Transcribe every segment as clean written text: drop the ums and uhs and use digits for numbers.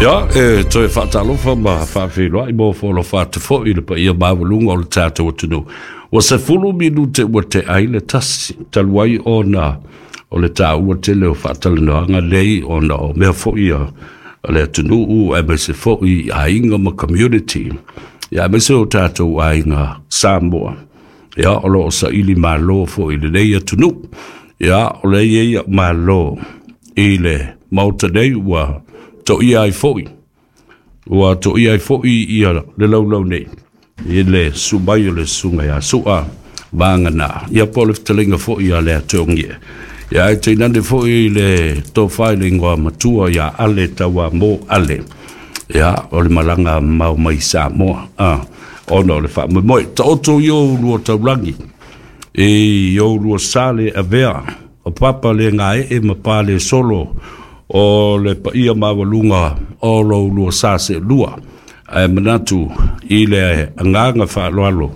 Ia, e toe faatalofa ma faafeiloai mo foalofa atu foi i le paia maualuga o le tatou atunuu. Ua 10 minute ua tea ai le 1, talu ai ona o le taua tele o faatalanoaga nei ona o mea foi a le atunuu aemaise foi i aiga ma community, ia aemaise o tatou aiga Samoa. Ia, o lo o saili malo foi i lenei atunuu. Ia, o lea e i ai au malo i le Maota nei ua toia ai foi, ua toia ai foi ia le laulau nei i le susu mai o le susuga ia Su'a Vagana, ia po o le fetalaiga foi ia Leatogie. Ia ae tainane foi le tofa i le igoa matua ia Ale Tauamo Ale. Ia, o le malaga mamao mai Samoa, ona o le faamoemoe. Taoto i ou lua taulagi, i ou lua sa le avea, o papa le gaee ma pa le solo, o le paia maualuga o lou lua sa seelua. Ae manatu i le agaga faaaloalo,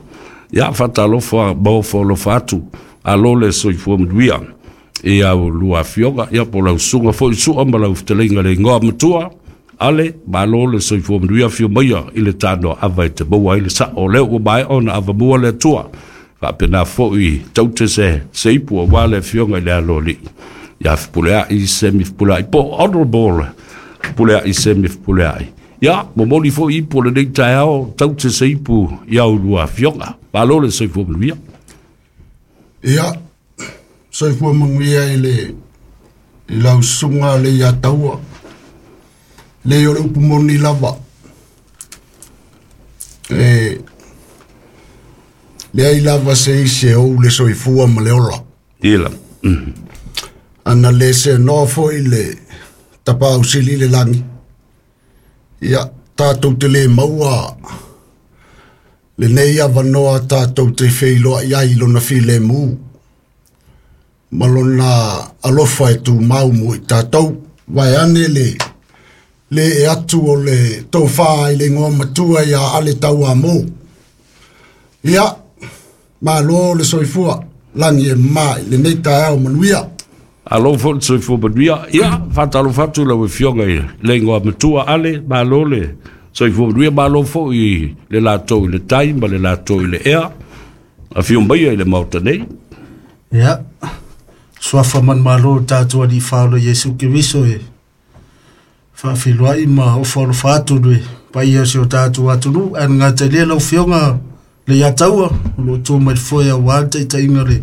ia faatalofa ma ofo alofa atu, alo le soifua manuia i au lua afioga, ia po o lau susuga foi Sua ma lau fetalaiga le igoa matua, Ale, malo le soifua manuia, afio maia i le tanoa ava e te maua ai le sao o lea ua maea ona avamua le Atua. Faapena foi taute se seipu aua le afioga i le aloalii ia Fepuleai Semi Fepuleai po o Honorable Fepuleai Semi Fepuleai. Ia, momoli foi ipu o lenei taeao, taute se ipu i au lua afioga. Malo le soifua manuia. Ia, soifua manuia i le i lau susuga le ia taua. Le o le upu moni lava. E leai lava se isi e ou le soifua ma le ola. Ila. Ana le seanoa foi le tapaau sili le lagi. Ia, tatou te le maua lenei avanoa tatou te feiloai ai i lona filemu ma lona alofa e tumau mo i tatou. Vaeane le le e atu o le tofa i le igoa matua ia Ale Tauamo. Ia, malo le soifua, lagi e mā i lenei taeao manuia. Alo foi le soifua manuia. Ia, faatalofa atu lau afioga i le igoa matua Ale, malo le soifua manuia, malo foi i le latou i le tai ma le latou i le ea. Afio maia i le Maota nei. Ia, suafa manumalo o tatou Alii Faaola Iesu Keriso e faafeiloai ma ofo alofa atu le paia o si o tatou atunuu. Ae gata i lea lau Afioga Leiataua, o lo o tu mai le foe aua le taitaiga o le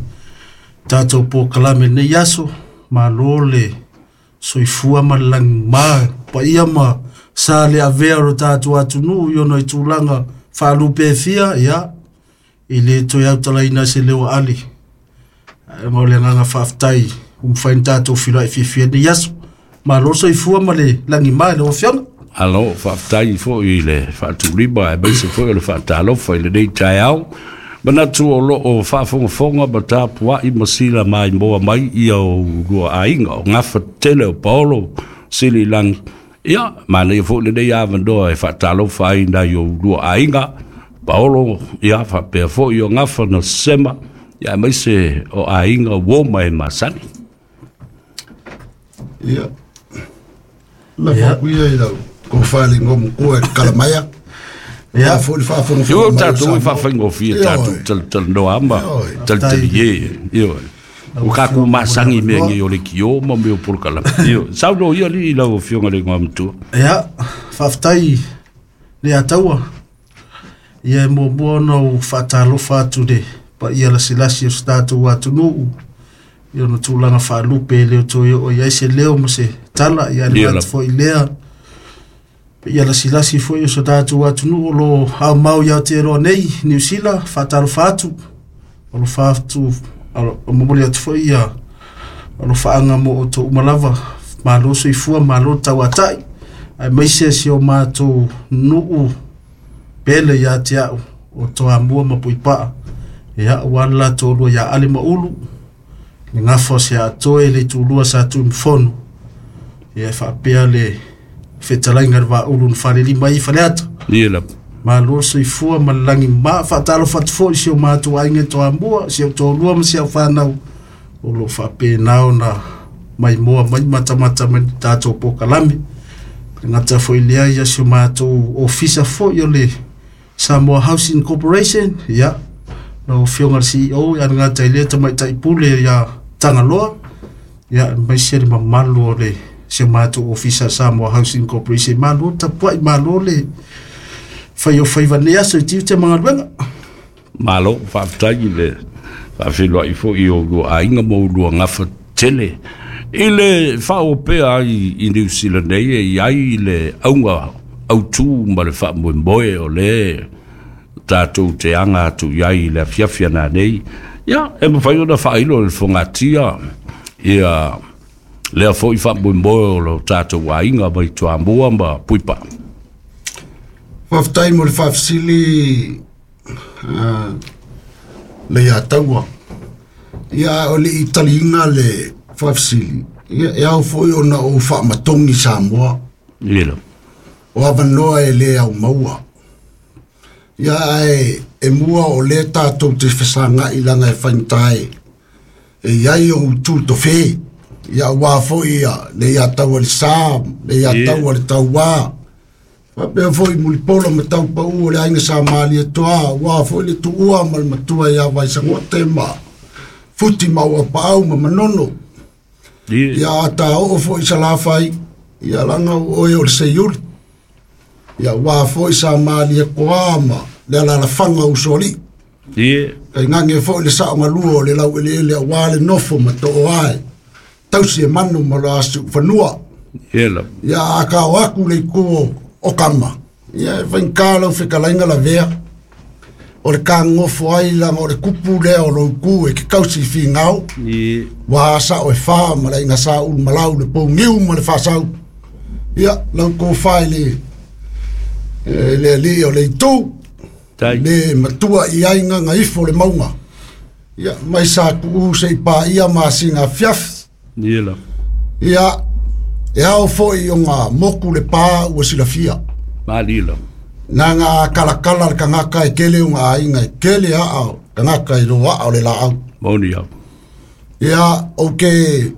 tatou polokalame i lenei aso. Malo le soifua ma le lagima, paia ma sa le avea o le tatou atunuu i ona i tulaga faalupe e fia, ia, e le toe autalaina se leo ale. Ae o le agaga faafetai ua mafai ona tatou feiloai fiafia i lenei aso. Malo le soifua ma le lagima i lau Afioga. Alo, faafetai foi i le faatulima aemaise foi o le faatalofa i lenei taeao. Manatu o lo o faafogafoga ma tapuai ma sila maimoa mai ia o lua aiga o gafa tele o Paolo Sililangi. Ia, manaia foi lenei avanoa e faatalofa ai nai o lua aiga, Paolo, ia faapea foi o gafa na sema, ia aemaise o aiga uo ma e masani. Ia, la faakuia i lau tofa i le igoa matua e Kalamaia. Ia, foi le faafogafoga Io mai o tatou e Samoa. faafaigofie Ioe. tatou talatalanoa ma Ioe. talitalie. Ioe. Lau O kakou Afioga mo le masangi mea avanoa. nei o le kio ma mea o polokalame. Ioe. Saunoa ia alii i lau afioga i le igoa matua. Ia, faafetai Leiataua. Ia e muamua ona ou faatalofa atu le paia lasilasi o se tatou atunuu i ona tulaga faalupe e le o toe oo i ai se leo ma se tala. Ia Ia le lava. atu foi lea paia lasilasi foi o se tatou atunuu o lo aumau i Aotearoa nei, Niu Sila, faatalofa atu, alofa atu, momoli atu foi ia alofaaga mo outou uma lava. Malo soifua, malo tauatai, aemaise si o matou nuu pele ia te au o Toamua ma Puipaa. Ia, aua le latou lua ia Ale ma Ulu, le gafa o se atoe le itulua sa Tuimafono. Ia, e faapea le fetalaiga le Vaaulu na falelima ai i Faleata. Ia lava. Malo soifua ma le lagi ma faatalofa atu foi i si o matou aiga i Toamua, si o toalua ma si au fanau o lo o faapena ona maimoa mai matamata mai le tatou polokalame. Gata foi lea ia si o matou ofisa foi o le Samoa Housing Corporation, ia, lau Afioga i le CEO, ia le gata i lea tamaitai pule ia Tagaloa, ia, aemaise le mamalu o le si o matou ofisa Samoa Housing Corporation. Malo tapuai, malo le fai o faiva nei aso i tiute ma galuega. Malo, faafetai i le faafeiloai foi i oulua aiga ma oulua gafa tele. I le faaopea ai i Niu Sila nei e i ai le auga autū ma le faamoemoe o le tatou te aga atu i ai i le afiafi ana nei, ia, e mafai ona faailo e le fogatia ia lea foi faamoemoe o lo tatou aiga mai Toamua ma Puipaa. Faafetai mo le faafesili le ia taua. Ia o le i taliina le faafesili, ia e ao foi ona ou faamatogi Samoa. Ia. O avanoa e le au maua. Ia ae e mua o le tatou te fesagai langa e faigata e iai o utu tofe. Ia ua foi ia le ia taua le sa, le ia taua le tauā. Faapea foi mulipola ma taupau o le aiga sa malie toa, ua foi le tuua ma le matua ia Vaisagote ma futi ma ua paau ma manono. Ia ta oo foi Salafai, ia langa o oe o le seiuli. Ia ua foi sa malie koa ma le alalafaga usoalii. Kai ngange foi le sao galua o le lau eleele aua le nofo ma too ae. Tausi e manu ma lo asu fanua. Ia a ka o aku le iku o kama. Ia e faigata lau fetalaiga lavea. O le kagofo ai langa o le kupu lea o lou e ke kausi figao. Ua sao e wha ma le aiga sa ulu malau le pougiu ma le faasau. Ia lau kofa i le le alii o le itu. Le matua i ai nganga ifo le maunga. Ia mai sa kuu se i pā ia masinga fiafi. Ia e ao foi o ngā moku le pā ua silafia. Malila. Nā ngā kalakala le kangaka e kele o ngā ainga e kele aa kangaka i roa o le laau. Mauni au. Ia o ke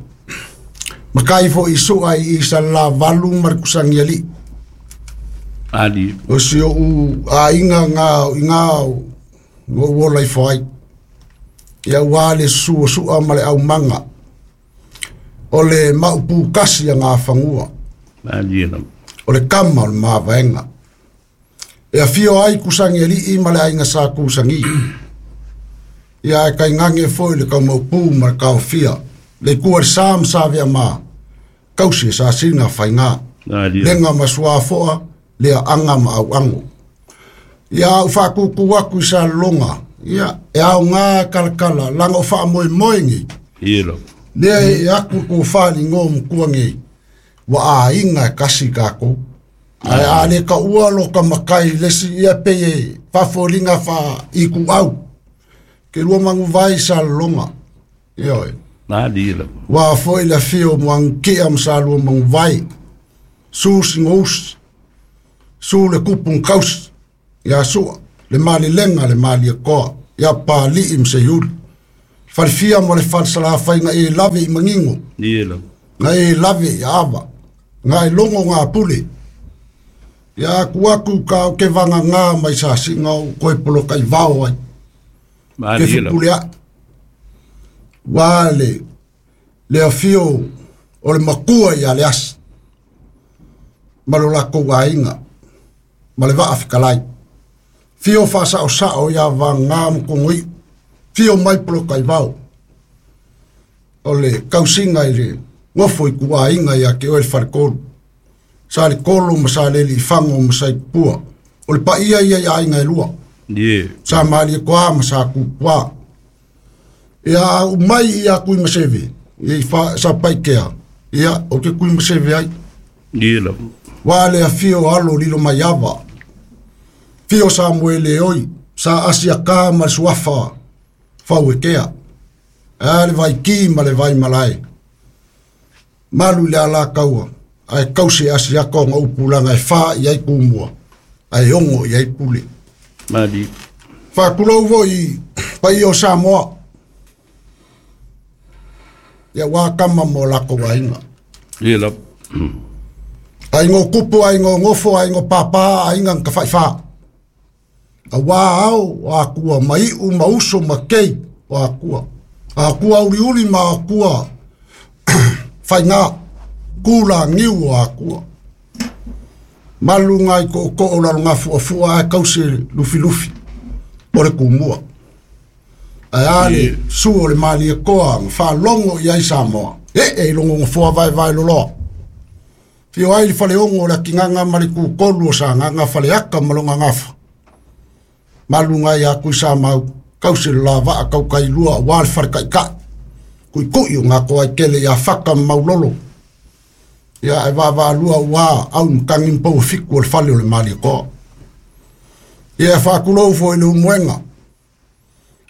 makai foi sua i sa la valu ma le kusangi ali. Ali. O si o u ainga ngā i ngā o uola i whai. Ia ua le sua sua ma le au manga. O le maupu kasi a ngā whangua. Malila. O le kama o le māwaenga. E a fio ai kusangi ali i ma le ainga sa kusangi. Ia e kai ngange foi le kau maupu ma le kaofia. Le kua le sa ma sa vea ma. Kausi e sa sina whainga. Lenga ma sua foa, lea anga ma au ango. Ia u whakuku aku i sa longa. Ia e au ngā kalakala, langa o wha moe moe ngi. Lea e aku ko whali ngō mkua ngi. Wa a inga e kasi kako. Ai a le ka ua lo ka makai lesi ia pe e whafolinga wha i ku au. Ke lua mangu vai sa longa. Ia oi. Nā lila. Wa foi la fio muang kia ma sa lua mangu vai. Su singous. Su le kupung kaus. Ia sua. Le mali lenga le mali e koa. Ia pa li im se yul. Falfia mo le falsala whai nga e lave i mangingo. Nga e lave i awa. Nga e longo ngā pule. Ia aku aku ka o ke vanga ngā mai sa singa o koe polo kai vao ai. Ke fipule a. Wa le afio o le makua ia le asi. Ma lo lako ainga. Ma le vaa fikalai. Fio wha sao sao ia vanga mkongoi. Fio mai polo kai vao. O le kausinga i le ngofo i kua ainga ia ke oe le wharekolu. Sa le kolo ma sa leli fango ma sa i pua. O le pa ia ia ia ainga e lua. Sa maali e koa ma sa kupua. Ia umai ia kui maseve. Ia i sa paikea. Ia o ke kui maseve ai. Wa le a fio alo lilo mai ava. Fio sa moele oi. Sa asia ka ma suafa. Fau e kea. A le vai ki ma le vai malae. Malu le ala kaua. Ai kausi asia ko ngā upulanga e wha i ai kumua. Ai ongo i ai pule. Mali. Whakulau vo i pai o Samoa. Ia wā kama mō lako wainga. Ia la. Aiga o kupu, aiga o gofo, aiga o pāpā, aiga na tafaifā. Auā ao o akua ma iʻu ma uso ma kei o akua. Akua uliuli ma akua faigā kulagiu o akua. Malu ngai koʻokoʻo lalogafuʻafuʻa ae tausi lufilufi o le kumua. Ae a le su o le Malietoa ma faalogo i ai Samoa. Ee i logo gofoa vaevae loloa. Fio ai le faleogo o le atigaga ma le kukolu o Sagaga faleaka ma lona gafa. Malu ngai a Tuisamau, tausi le lavaa taukailua auā le faletaʻitaʻi. Tuʻituʻi o gatoa ai tele iā Fata ma Maulolo. Ia e vaavaalua uā au matagi ma pouafitu o le fale o le Malietoa. Ia e faatulou foi i le umuega.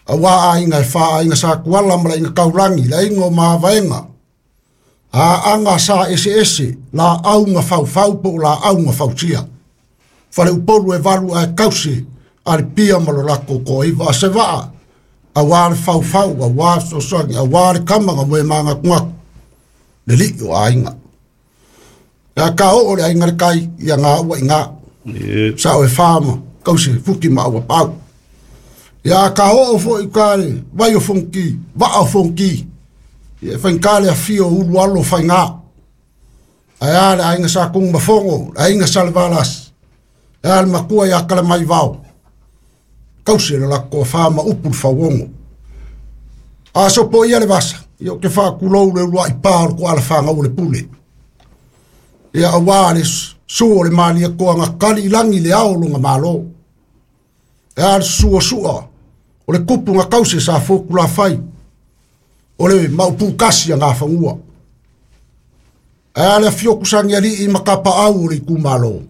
Auā aiga e whā aiga sa tuala ma le aiga taulagi, le aiga o mavaega. Aaga sa eseese, laau na faufau po o laau na fausia. Faleupolu e valu ae tausi a le pia ma lo latou toaiva. A se vaa, auā le faufau, auā le fesoasoani, auā le kama na moe magatugatu, le lii o aiga. Ia ka oo le aiga le kai, ia ngā ua i ngā. Sa o e whā ma kausi fuki ma aua pau. Ia ka oo foi ka le vai o fonki, vaa o fonki. Ia whainga le afio ulu alo whainga. Ae a le aiga sa kung mafongo, le aiga sa le valas. Ae a le makua ia kala mai vao. Kausi le lako wha ma upu le fauongo. A sopo ia le vasa, ia o te whaakulou le ulua i pā o le ko ala whangau le pule. Ia auā le su o le Malietoa na kali i lagi le ao o lona Malo. E a le susu o sua o le kupu na tausi e sa fokulafai o le maupukasi a gafanua. Ae a le afio kusagialii ma kapaau o le itumalo.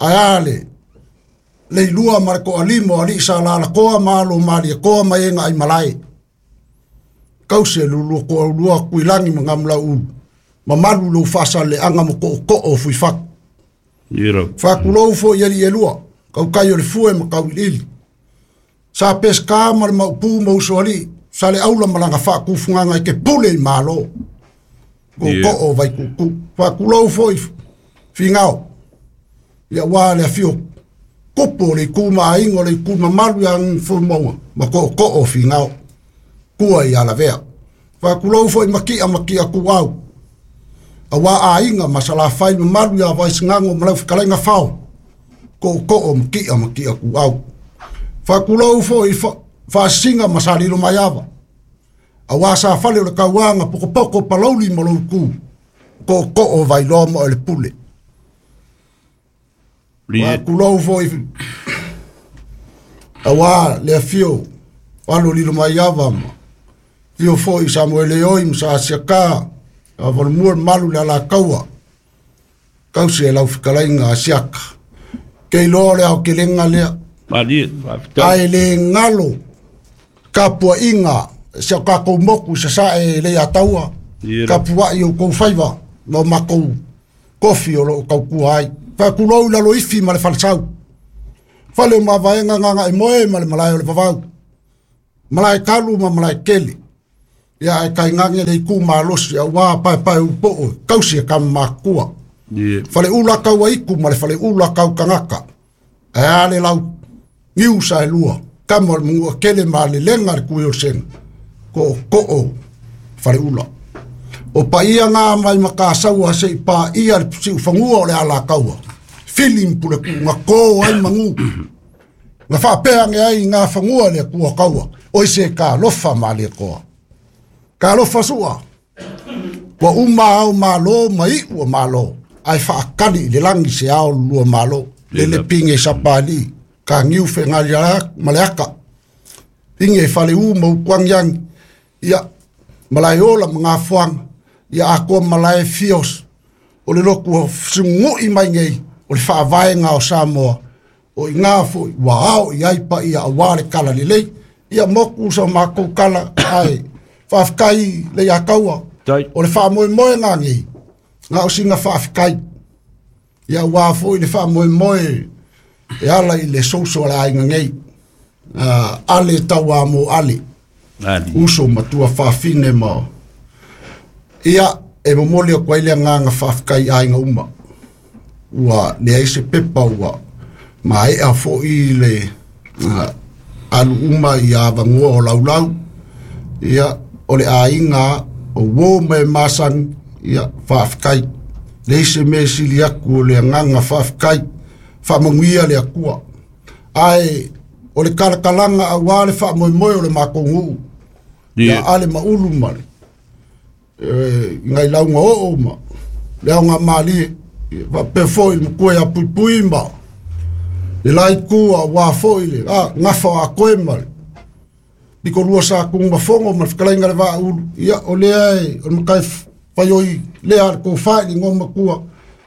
Ae a le leilua ma le toalima o alii sa lalakoa ma alo o Malietoa ma e na aimalae. Tausi e lulua toaulua Tuilagi ma Gamulauulu. Mamalu lou faasaleaga ma tootoo o Fuifatu. Faatulou foi i alii e lua, kaukai o le fue ma kauiliili. Sa Peseta ma le Maupū ma Usoalii, sa le aula ma laga faatufugaga i ke pule i Malo. Tootoo o Vaituutuu. Faatulou foi Finao. Ia auā le afio kupu o le itu ma aiga o le itu mamalu ia Gagaifomauga ma tootoo o Finao. Tua i Alavea. Faatulou foi Makia Makia Tuau. Auā aiga ma Salafai mamalu ia Vaisigano ma lau fetalaiga Fao. Tootoo o Makia Makia Tuau. Faatulou foi Faasisiga ma Salilo Maiava. Auā sa fale o le tauaga pokopoko palauli ma loutu. Tootoo o Vailoa ma o le pule. Faatulou foi auā le afio o alo lilo maiava ma afio foi Samuele oi ma sa Asiaka a valomua le malu le alataua tausi e lau fetalaiga Asiaka. Ke iloa o le aotelega lea. Ae le galo tapuaiga si o tatou moku i sasae e le ataua. Tapuai outou faiva ma o matou kofi o loo tautua ai. Faatulou i Laloifi ma le falesau. Fale o mavaega Gagaimoe ma le malae o le vavau. Malae talu ma malae tele. Ia ae tainane le itu malosi auā paepae upoo tausi e kama matua. Faleula tau aitu ma le faleula tau tagata. Ae a le lau niu sa e lua. Kama o le manua tele ma le lega le kui o le sega. Tootoo faleula. O paia ngā mai makasaua se i pāia le siufanua o le alataua. Fili ma puleku na kō ai manu. Na faapea age ai i ngā fanua le Atua kaua. Oi se ka alofa Malietoa. Ka alofa sua. Ua uma ao malo ma iʻu o malo. Ae faakali i le lagi se ao lua malo. Lele pinge sapali. Ka niu whengali ma le aka. Pinge fale u ma upuangiangi. Ia malae ola ma ngā fuanga. Ia akoa malae fios. O le loku o sungui mai nei. O le whaavaenga o Samoa. O i ngā foi ua ao i ai pa ia auā le kala lelei. Ia moku sa mākou kala ae whaafetai le ia kaua. O le whaamoemoe ngā nei. Ngā o singa whaafetai. Ia ua foi le whaamoemoe e ala i le souso le aiga nei. Ale tau mo ale. Uso matua whaafine ma. Ia e momoli o kwa ile nganga whaafetai aiga uma. Ua leai se pepa ua maea fo'i le alu uma i avanoa o laulau. Ia o le aiga o uō ma e masani, ia faafetai. Leai se mea e sili atu o le agaga faafetai, faamanuia le Atua. Ae o le talakalaga auā le faamoemoe o le matou nuu ia ale ma ulu ma le nai lauga oo ma le aoga malie, faapea foi le matua ia Puipui ma le la itu auā foi le gafa o Atoe ma le pitolua sa Tunumafono ma le fetalaiga le Vaaulu. Ia o lea e o le matai faioi lea a le tofa i le igoa matua,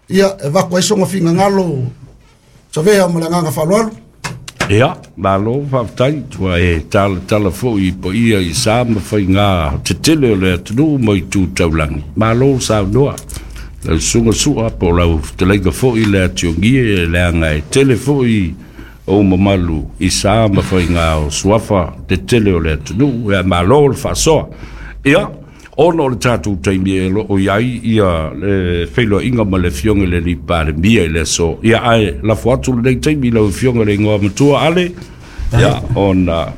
ia e avatu ai sona finagalo savea ma le agaga faaaloalo. Ia, malo faafetai, ua e talatala foi i paia i sa ma faigā tetele o le atunuu ma itu taulagi. Malo saunoa lau susuga Sua po o lau fetalaiga foi le Atiogie, leaga e tele foi ou mamalu i sa ma faigā o suafa tetele o le atunuu. Ia, malo le faasoa. Ia, ona o le tatou taimi e loo i ai ia le feiloaiga ma le afioga i le alii Palemia i le aso. Ia, ae lafo atu lenei taimi i lau afioga i le igoa matua Ale, ia ona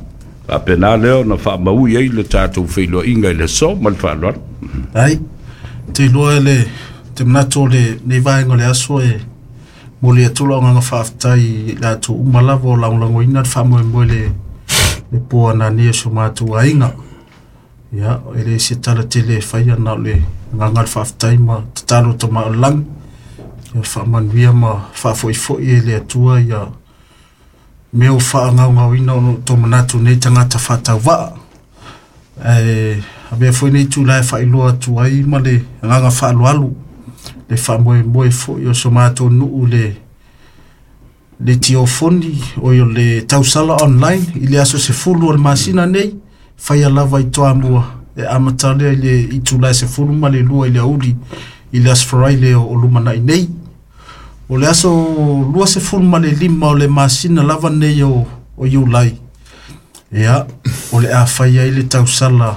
faapena lea ona faamaui ai le tatou feiloaiga i le aso ma le faaaloalo. Ai, te iloa le te manatu o lenei vaega o le aso e momoli atu lau agaga faafetai i latou uma lava o lagolagoina le faamoemoe le po anania o si o matou aiga. Ia, e le se tala tele e faia na o le agaga o le faafetai ma tatalo tama o le lagi. Ia faamanuia ma faafoifo'i e le Atua ia mea o faagaogaoina o lo o manatu nei tagata faatauvaa. Ae avea foi nei tulae faailoa atu ai ma le agaga faaaloalo le faamoemoe foi o so matou nuu le tiofoni o le tausala online i le aso 10 o le masina nei, faia lava i Toamua e amata lea i le itula e 12 i le aoauli i le aso Faraile o lumanai nei. O le aso 25 o le masina lava nei o Iulai, ia, o le a fai ai le tausala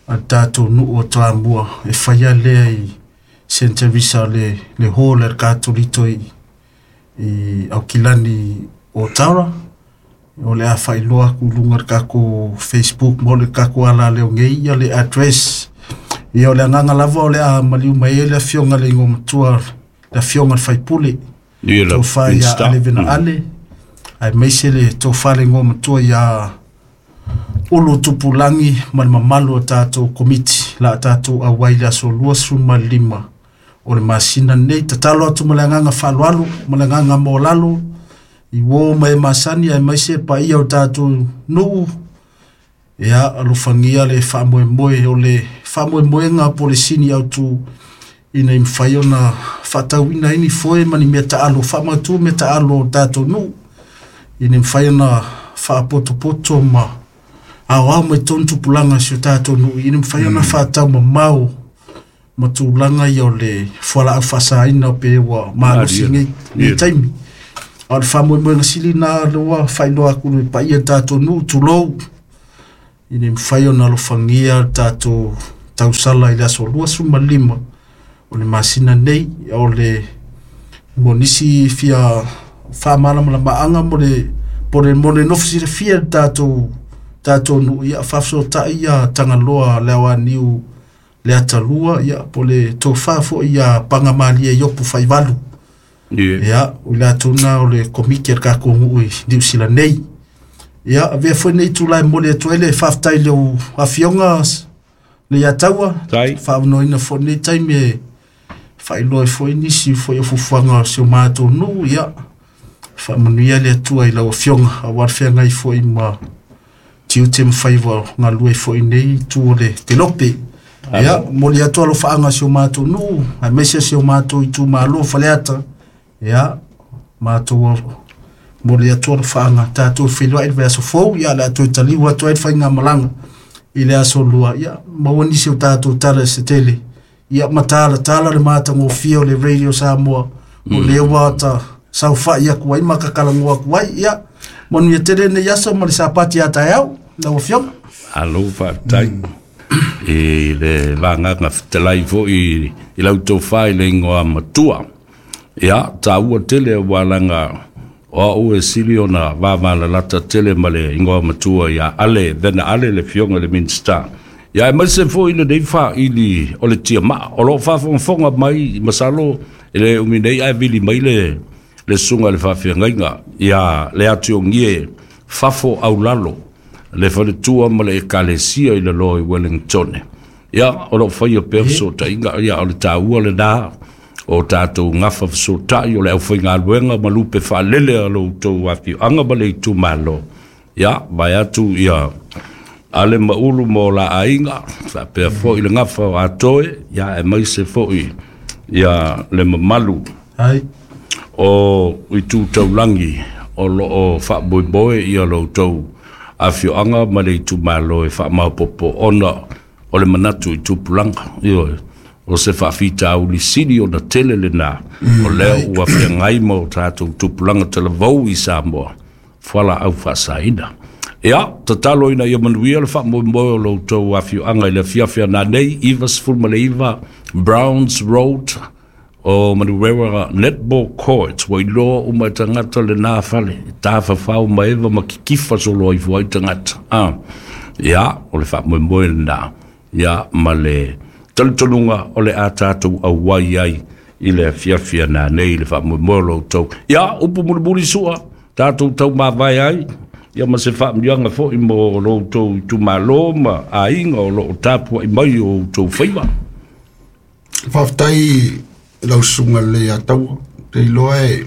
a le tatou nuu o Toamua e faia lea i Saint Teresa le hall a le Katoliko i Aukilani o Tara. O le a faailoa atu i luga o le tatou Facebook mo le tatou alaleo nei ia le address. Ia o le agaga lava o le a maliu mai ai le afioga i le igoa matua, le afioga i le faipule, Ia le tofa ia Minista. Ale Vena Ale, aemaise le tofa le igoa matua ia Ulu Tupulangi ma le mamalu o tatou komiti la tatou auai i le aso 25 o le masina nei. Tatalo atu ma le agaga faaaloalo ma le agaga maualalo i uo ma e masani aemaise paia o tatou nuu. Ia, alofagia le faamoemoe o le faamoemoega po o le sini autu ina ia mafai ona faatauina ai ni foe ma ni mea taalo, faamautu mea taalo o tatou nuu, ina ia mafai ona faapotopoto ma aoao mai tonu tupulaga o si o tatou nuu, ina ia mafai ona faataumamao ma tulaga ia o le fualaau faasaina pe ua malosi Malie. nei taimi. A o le faamoemoega sili na lea faailoa atu i le paia o le tatou nuu, tulou, ina ia mafai ona alofagia le tatou tausala i le aso 25 o le masina nei. O le mo nisi fia faamalamalamaanga mo le po le mo le nofo silafia le tatou nuu, ia faafesootai ia Tagaloa le Aoaniu le Atalua, ia po le tofa foi ia Pagamalie Iopu Faivalu. Ia. Ia, o le latou na o le komiti a le tatou nuu i Niu Sila nei. Ia, avea foi nei tulae momoli atu ai le faafetai i le afioga le Iataua, Tai. faaunoaina foi nei taimi e faailoa ai foi nisi foi o fuafuaga o si o matou nuu. Ia, faamanuia le Atua i lau afioga aua le feagai foi ma tiute ma faiva o galue foi nei itu o le Telope. Ia, momoli atu alofaaga o si o matou nuu, aemaise si o matou itumalo Faleata. Ia, matou momoli atu alofaaga, tatou feiloai i le vaiaso fou, ia o le a toe taliu atu ai le faigamalaga i le aso lua. Ia, maua nisi o tatou tala i se tele. Ia, matalatala le matagofie o le Radio Samoa, o lea ua ta saofai atu ai ma kakalagua atu ai. Ia, manuia tele nei aso ma le sapati a taeao, lau afioga. Alo faafetai i le vagaga fetalai foi i lau tofa i le igoa matua. Ia, taua tele ua laga o au e sili ona vavalalata tele ma le igoa matua ia Ale Vena Ale le Afioga i le Minisita. Ia aemaise foi lenei faili o le tiamaa o loo faafogafoga mai, masalo e le umi nei ae vili mai le susuga i le faafeagaiga ia le Atiogie Fafo Aulalo, le faletua ma le ekalesia i lalo i Wellington. Ia, o loo faia pea fesootaiga, ia o le taua lena o tatou gafa fesootai o le aufaigaluega ma lupe faalele a lo outou afioaga ma le itumalo. Ia, vae atu ia Ale ma Ulu ma o la aiga, faapea foi le gafa o Atoe, ia aemaise foi ia le mamalu Ai. o itu taulagi o loo faamoemoe ia lo outou afioaga ma le itumalo e faamaopoopo ona o le manatu i tupulaga. Ioe, o se faafitauli sili ona tele lena o lea ua feagai ma o tatou tupulaga talavou i Samoa, fualaau faasaina. Ia, tatalo ina ia manuia le faamoemoe o lo outou afioaga i le afiafi a nanei, 99 Browns Road o Manurewa Netball Court. Ua iloa uma e tagata lena fale, e tafafao ma eva ma kikifa solo ai fua i tagata. Ia, o le faamoemoe lena, ia ma le talitonuga o le a tatou auai ai i le afiafi a nanei le faamoemoe o lo outou. Ia, upu mulimuli sua, tatou tau mavae ai, ia ma se faamuiaga foi mo lo outou itumalo ma aiga o loo tapuai mai o outou faiva. Faafetai lau susuga le Ataua. Te iloa e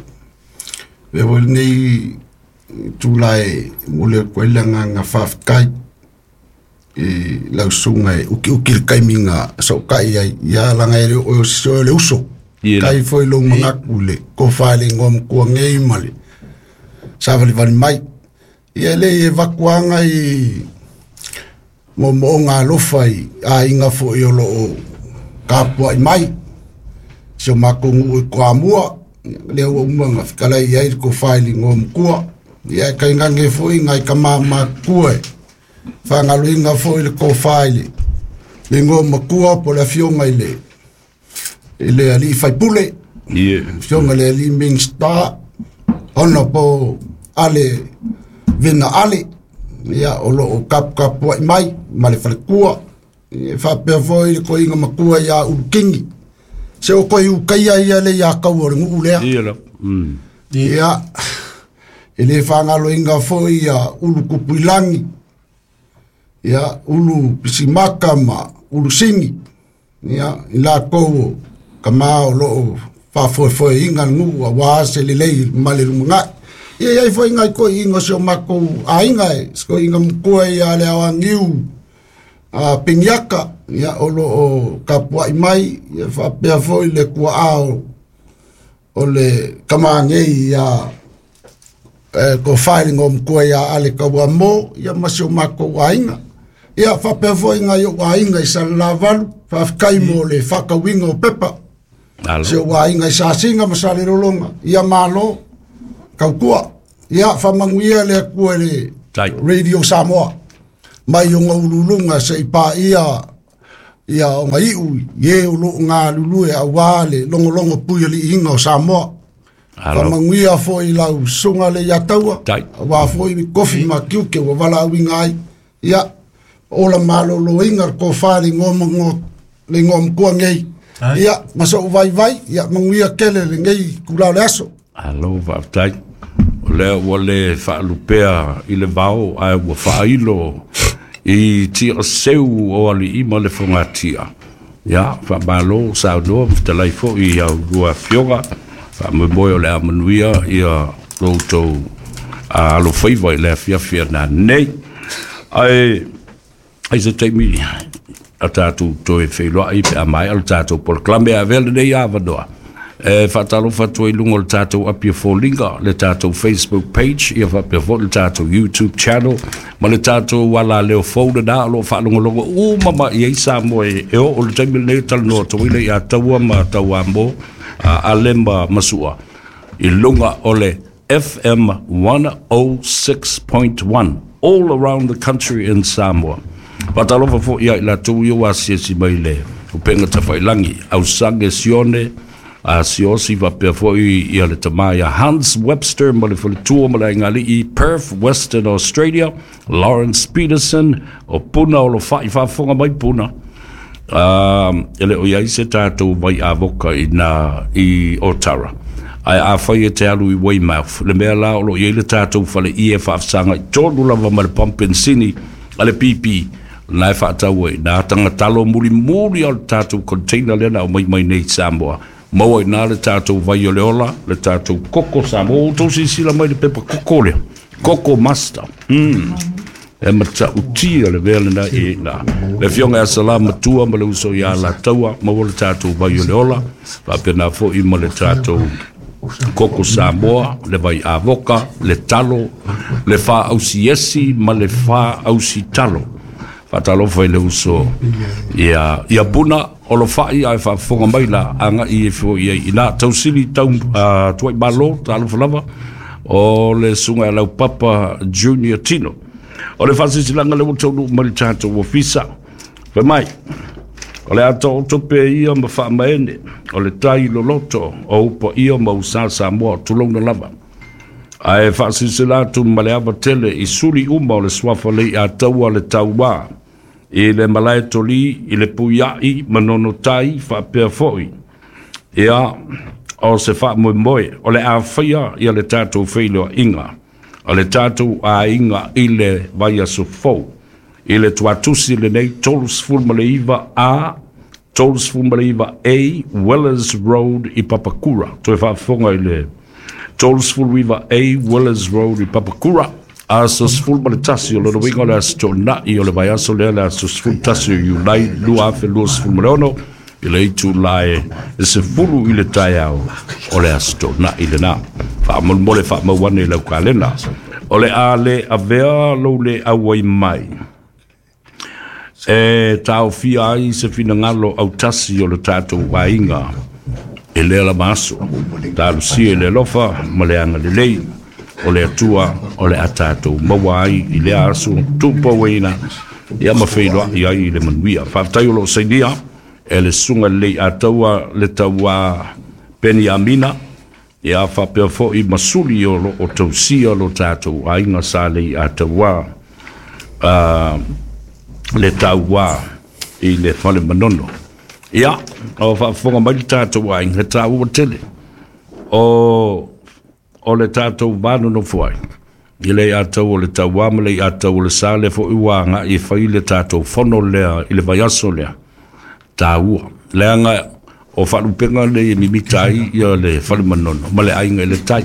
le foi lenei tula e momoli atu ai le agaga faafetai i lau susuga e ukiuki le taimi na sootai ai. Ia laga e le o se o le uso. Ia Tai foi lou manatu i le tofa i le igoa matua nei ma le savalivali mai. Ia e leai e vakuaga i moomooga alofa i aiga foi o loo tapuai mai. Si o matou nuu i Toamua, lea ua uma ona fetalai i ai le tofa i le igoa matua. Ia e tainane foi nai tama matutua e faagaloina foi le tofa i le igoa matua po o le afioga i le alii faipule, afioga i le alii Minisita, Honorable Ale Vena Ale, ia o loo taputapuai mai ma le faletua. E faapea foi le toeaina matua ia Ulu Kingi. Se o toe ukaia ia le ia kau o le nuu lea. Ia la. Ia, e le faagaloina foi ia Ulu Kupuilagi, ia Ulu Pisimaka ma Ulu Sigi, ia i latou o tama o loo faafoefoeina le nuu auā se lelei ma le lumanai. Ia i ai foi nai toeaiina o si o matou aiga e se toeaina matua ia le Aoagiu a Peniaka, ia o loo tapuai mai, ia faapea foi le tuaa o le tama nei ia tofa i le igoa matua ia Ale Tauamo, ia ma si o matou aiga. Ia faapea foi nai ou aiga i Salelavalu, faafetai mo le faatauina o pepa. Alo. Si ou aiga i Sasiga ma Salelologa, ia malo tautua. Ia faamanuia le Atua i le Tai. Radio Samoa mai ona uluuluga se i paia ia ona iu i e o loo galulue auā le logologo pui aliiga o Samoa. Alo. Faamanuia foi lau susuga le Iataua, Tai. auā foi kofi ma tiute ua valaauina ai. Ia, ola malōlōina le tofa i le igoa le igoa matua nei. Ai. Ia, ma sou vaivai, ia manuia tele lenei itulā o le aso. Alo, faafetai. O lea ua le faalupea i le vao ae ua faailo i tiaseu o alii ma le fogatia. Ia, faamalo saunoa ma fetalai foi i au lua afioga. Faamoemoe o le a manuia ia lo outou alofaiva i le afiafi a nanei. Ae ai se taimi a tatou toe feiloai pe a maea le tatou polokalame a avea lenei avanoa. E faatalofa atu ai i luga o le tatou Apia Foliga, le tatou Facebook page, ia faapea foi le tatou YouTube channel, ma le tatou ala leo fou lena o loo faalogologo uma ma i ai Samoa e oo le taimi lenei o talanoa atu ai le ia Taua ma Tauamo, Ale ma Masua, i luga o le FM 106.1 all around the country in Samoa. Faatalofa foi ia i latou ia ua asiasi mai le upega tafailangi, Ausage Sione, Asiosi faapea foi ia le tama ia Hans Webster ma le faletua ma le aigali'i Perth, Western Australia, Lawrence Peterson o Puna o lo fa'i faafofoga mai Puna. E le o i ai se tatou vai avoka i nā i Otara. Ae afai e te alu i Weymouth, le mea la o lo o i ai le tatou fale ie e faafesagai tonu lava ma le pump penisini a le BP, na e faatau ai nā tagatalo mulimuli o le tatou container lea na aumai mai nei i Samoa. Maua i nā le tatou vai o le ola, le tatou koko Samoa. Ua outou silasila mai i le pepa koko lea, Koko Master. E matautia le mea lena i ina. Le afioga ia Salamatua ma le uso ia Alataua, maua le tatou vai o le ola, faapena foi ma le tatou koko Samoa, le vai avoka, le talo, le faaausiesi ma le faausitalo. Faatalofa i le uso ia, ia Puna, o lo fai ae faafofoga mai la, agai e foi ai ina. Tausili tau tuai malo, talofa lava, o le susuga ia Laupapa Junior Tino. O le faasilasilaga lea ua taunuu mai le tatou ofisa. Fai mai, o le a taoto pea ia ma faamaene o le tai loloto o ou paia ma ou sa Samoa, tulouna lava. Ae faasilasila atu ma le ava tele i suli uma o le suafa Leiataua le Tauā i le malae toli i le puia'i ma nonotai faapea foi ia o se faamoemoe o le a faia ia le tatou feiloaiga a le tatou aiga i le vaiaso fou i le tuatusi lenei 39 A 39 A Wellers Road i Papakura. Toe faafofoga i le 39 A Wellers Road i Papakura. Aso 11 o lona uiga o le aso Toonai o le vaiaso lea, le aso 11 o Iulai 2026 i le itula e 10 i le taeao o le aso Toonai lena. Faamolemole faamau ane i lau kalena. O le a le avea lou le auai mai e taofia ai se finagalo autasi o le tatou aiga e lea lava aso. Talosia i le alofa ma le agalelei o le Atua o le a tatou maua ai i lea aso tupauaina ia ma feiloai ai i le manuia. Faafetai o lo o sainia e le Susuga Lelei Ataua le Tauā Peniamina, ia faapea foi ma suli o lo o tausia lo tatou aiga sa Leiataua le Tauā i le Fale Manono. Ia, o faafofoga mai le tatou aiga, he taua tele o le tatou va nonofo ai i Leiataua o le Tauā ma Leiataua o le Sa, lea foi ua agai e fai le tatou fono lea i le vaiaso lea. Taua, leaga o faalupega nei e mimita ai ia le Fale Manono ma le aiga i le tai.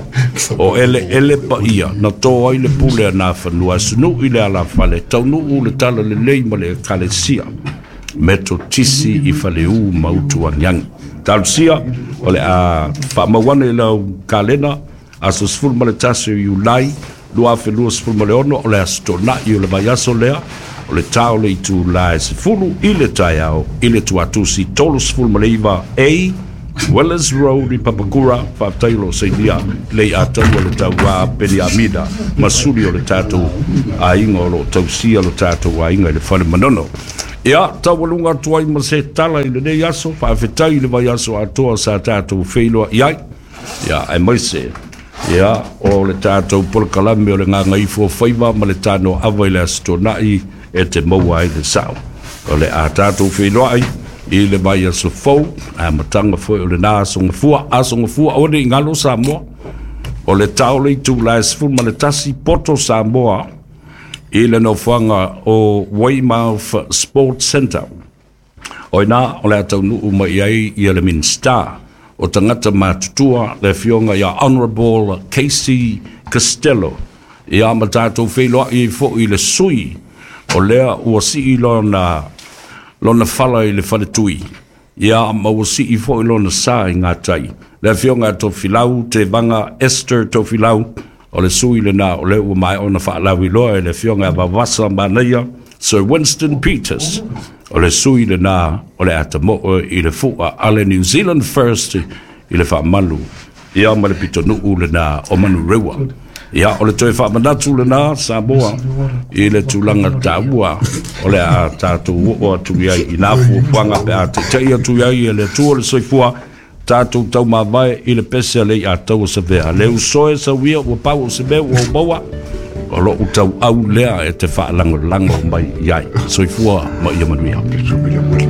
O eleele paia na to ai le pule a Nafanua, asunuu i le alafale, taunuu le tala lelei ma le ekalesia Metotisi i Faleu ma Utuagiagi. Talosia, o le a faamau ane i lau kalena, aso 11 o Iulai 2026, o le aso Toonai o le vaiaso lea, o le ta o le itula e 10 i le taeao i le tuatusi 39 A Wellers Road i Papakura. Faafetai o lo o sainia Leiataua le Tauā Peniamina ma suli o le tatou aiga o lo o tausia lo tatou aiga i le Fale Manono. Ia, taualuga atu ai ma se tala i lenei aso, faafetai i le vaiaso atoa sa tatou feiloai ai. Ia, aemaise ia o le tatou polokalame o le Gagaifo Faiva ma le Tanoaava i le Aso Toonai e te maua ai le sao. O le a tatou feiloai i le vaiaso fou, amataga foi o lena aso gafua, aso gafua aua ne i galo Samoa. O le tao le itula e 11 poto Samoa i le nofoaga o Weymouth Sports Centre. O ina o le a taunuu mai ai ia le Minisita o Tagata Matutua, le afioga ia Honourable Casey Costello. Ia ma tatou feiloai ai foi i le sui o lea ua sii lona, lona fala i le faletui, ia ma ua sii foi lona sa i gatai. Le afioga ia Tofilau Tevaga Esther Tofilau, o le sui lena o lea ua maea ona faalauiloa e le afioga ia Vavasa Manaia Sir Winston Peters, o le sui lena o le atamoo i le fua a le New Zealand First i le faamalu ia ma le pitonuu lena o Manurewa. Ia, o le toe faamanatu lena Samoa i le tulaga taua o le a tatou oo atu i ai i nā fuafuaga pe a taitai atu i ai e le Atua le soifua. Tatou taumavae i le pese a le iatau o Savea. Le uso e sauia ua pau o se mea ua ou maua, o lou tauau lea e te faalagolago mai i ai. Soifua ma ia manuia.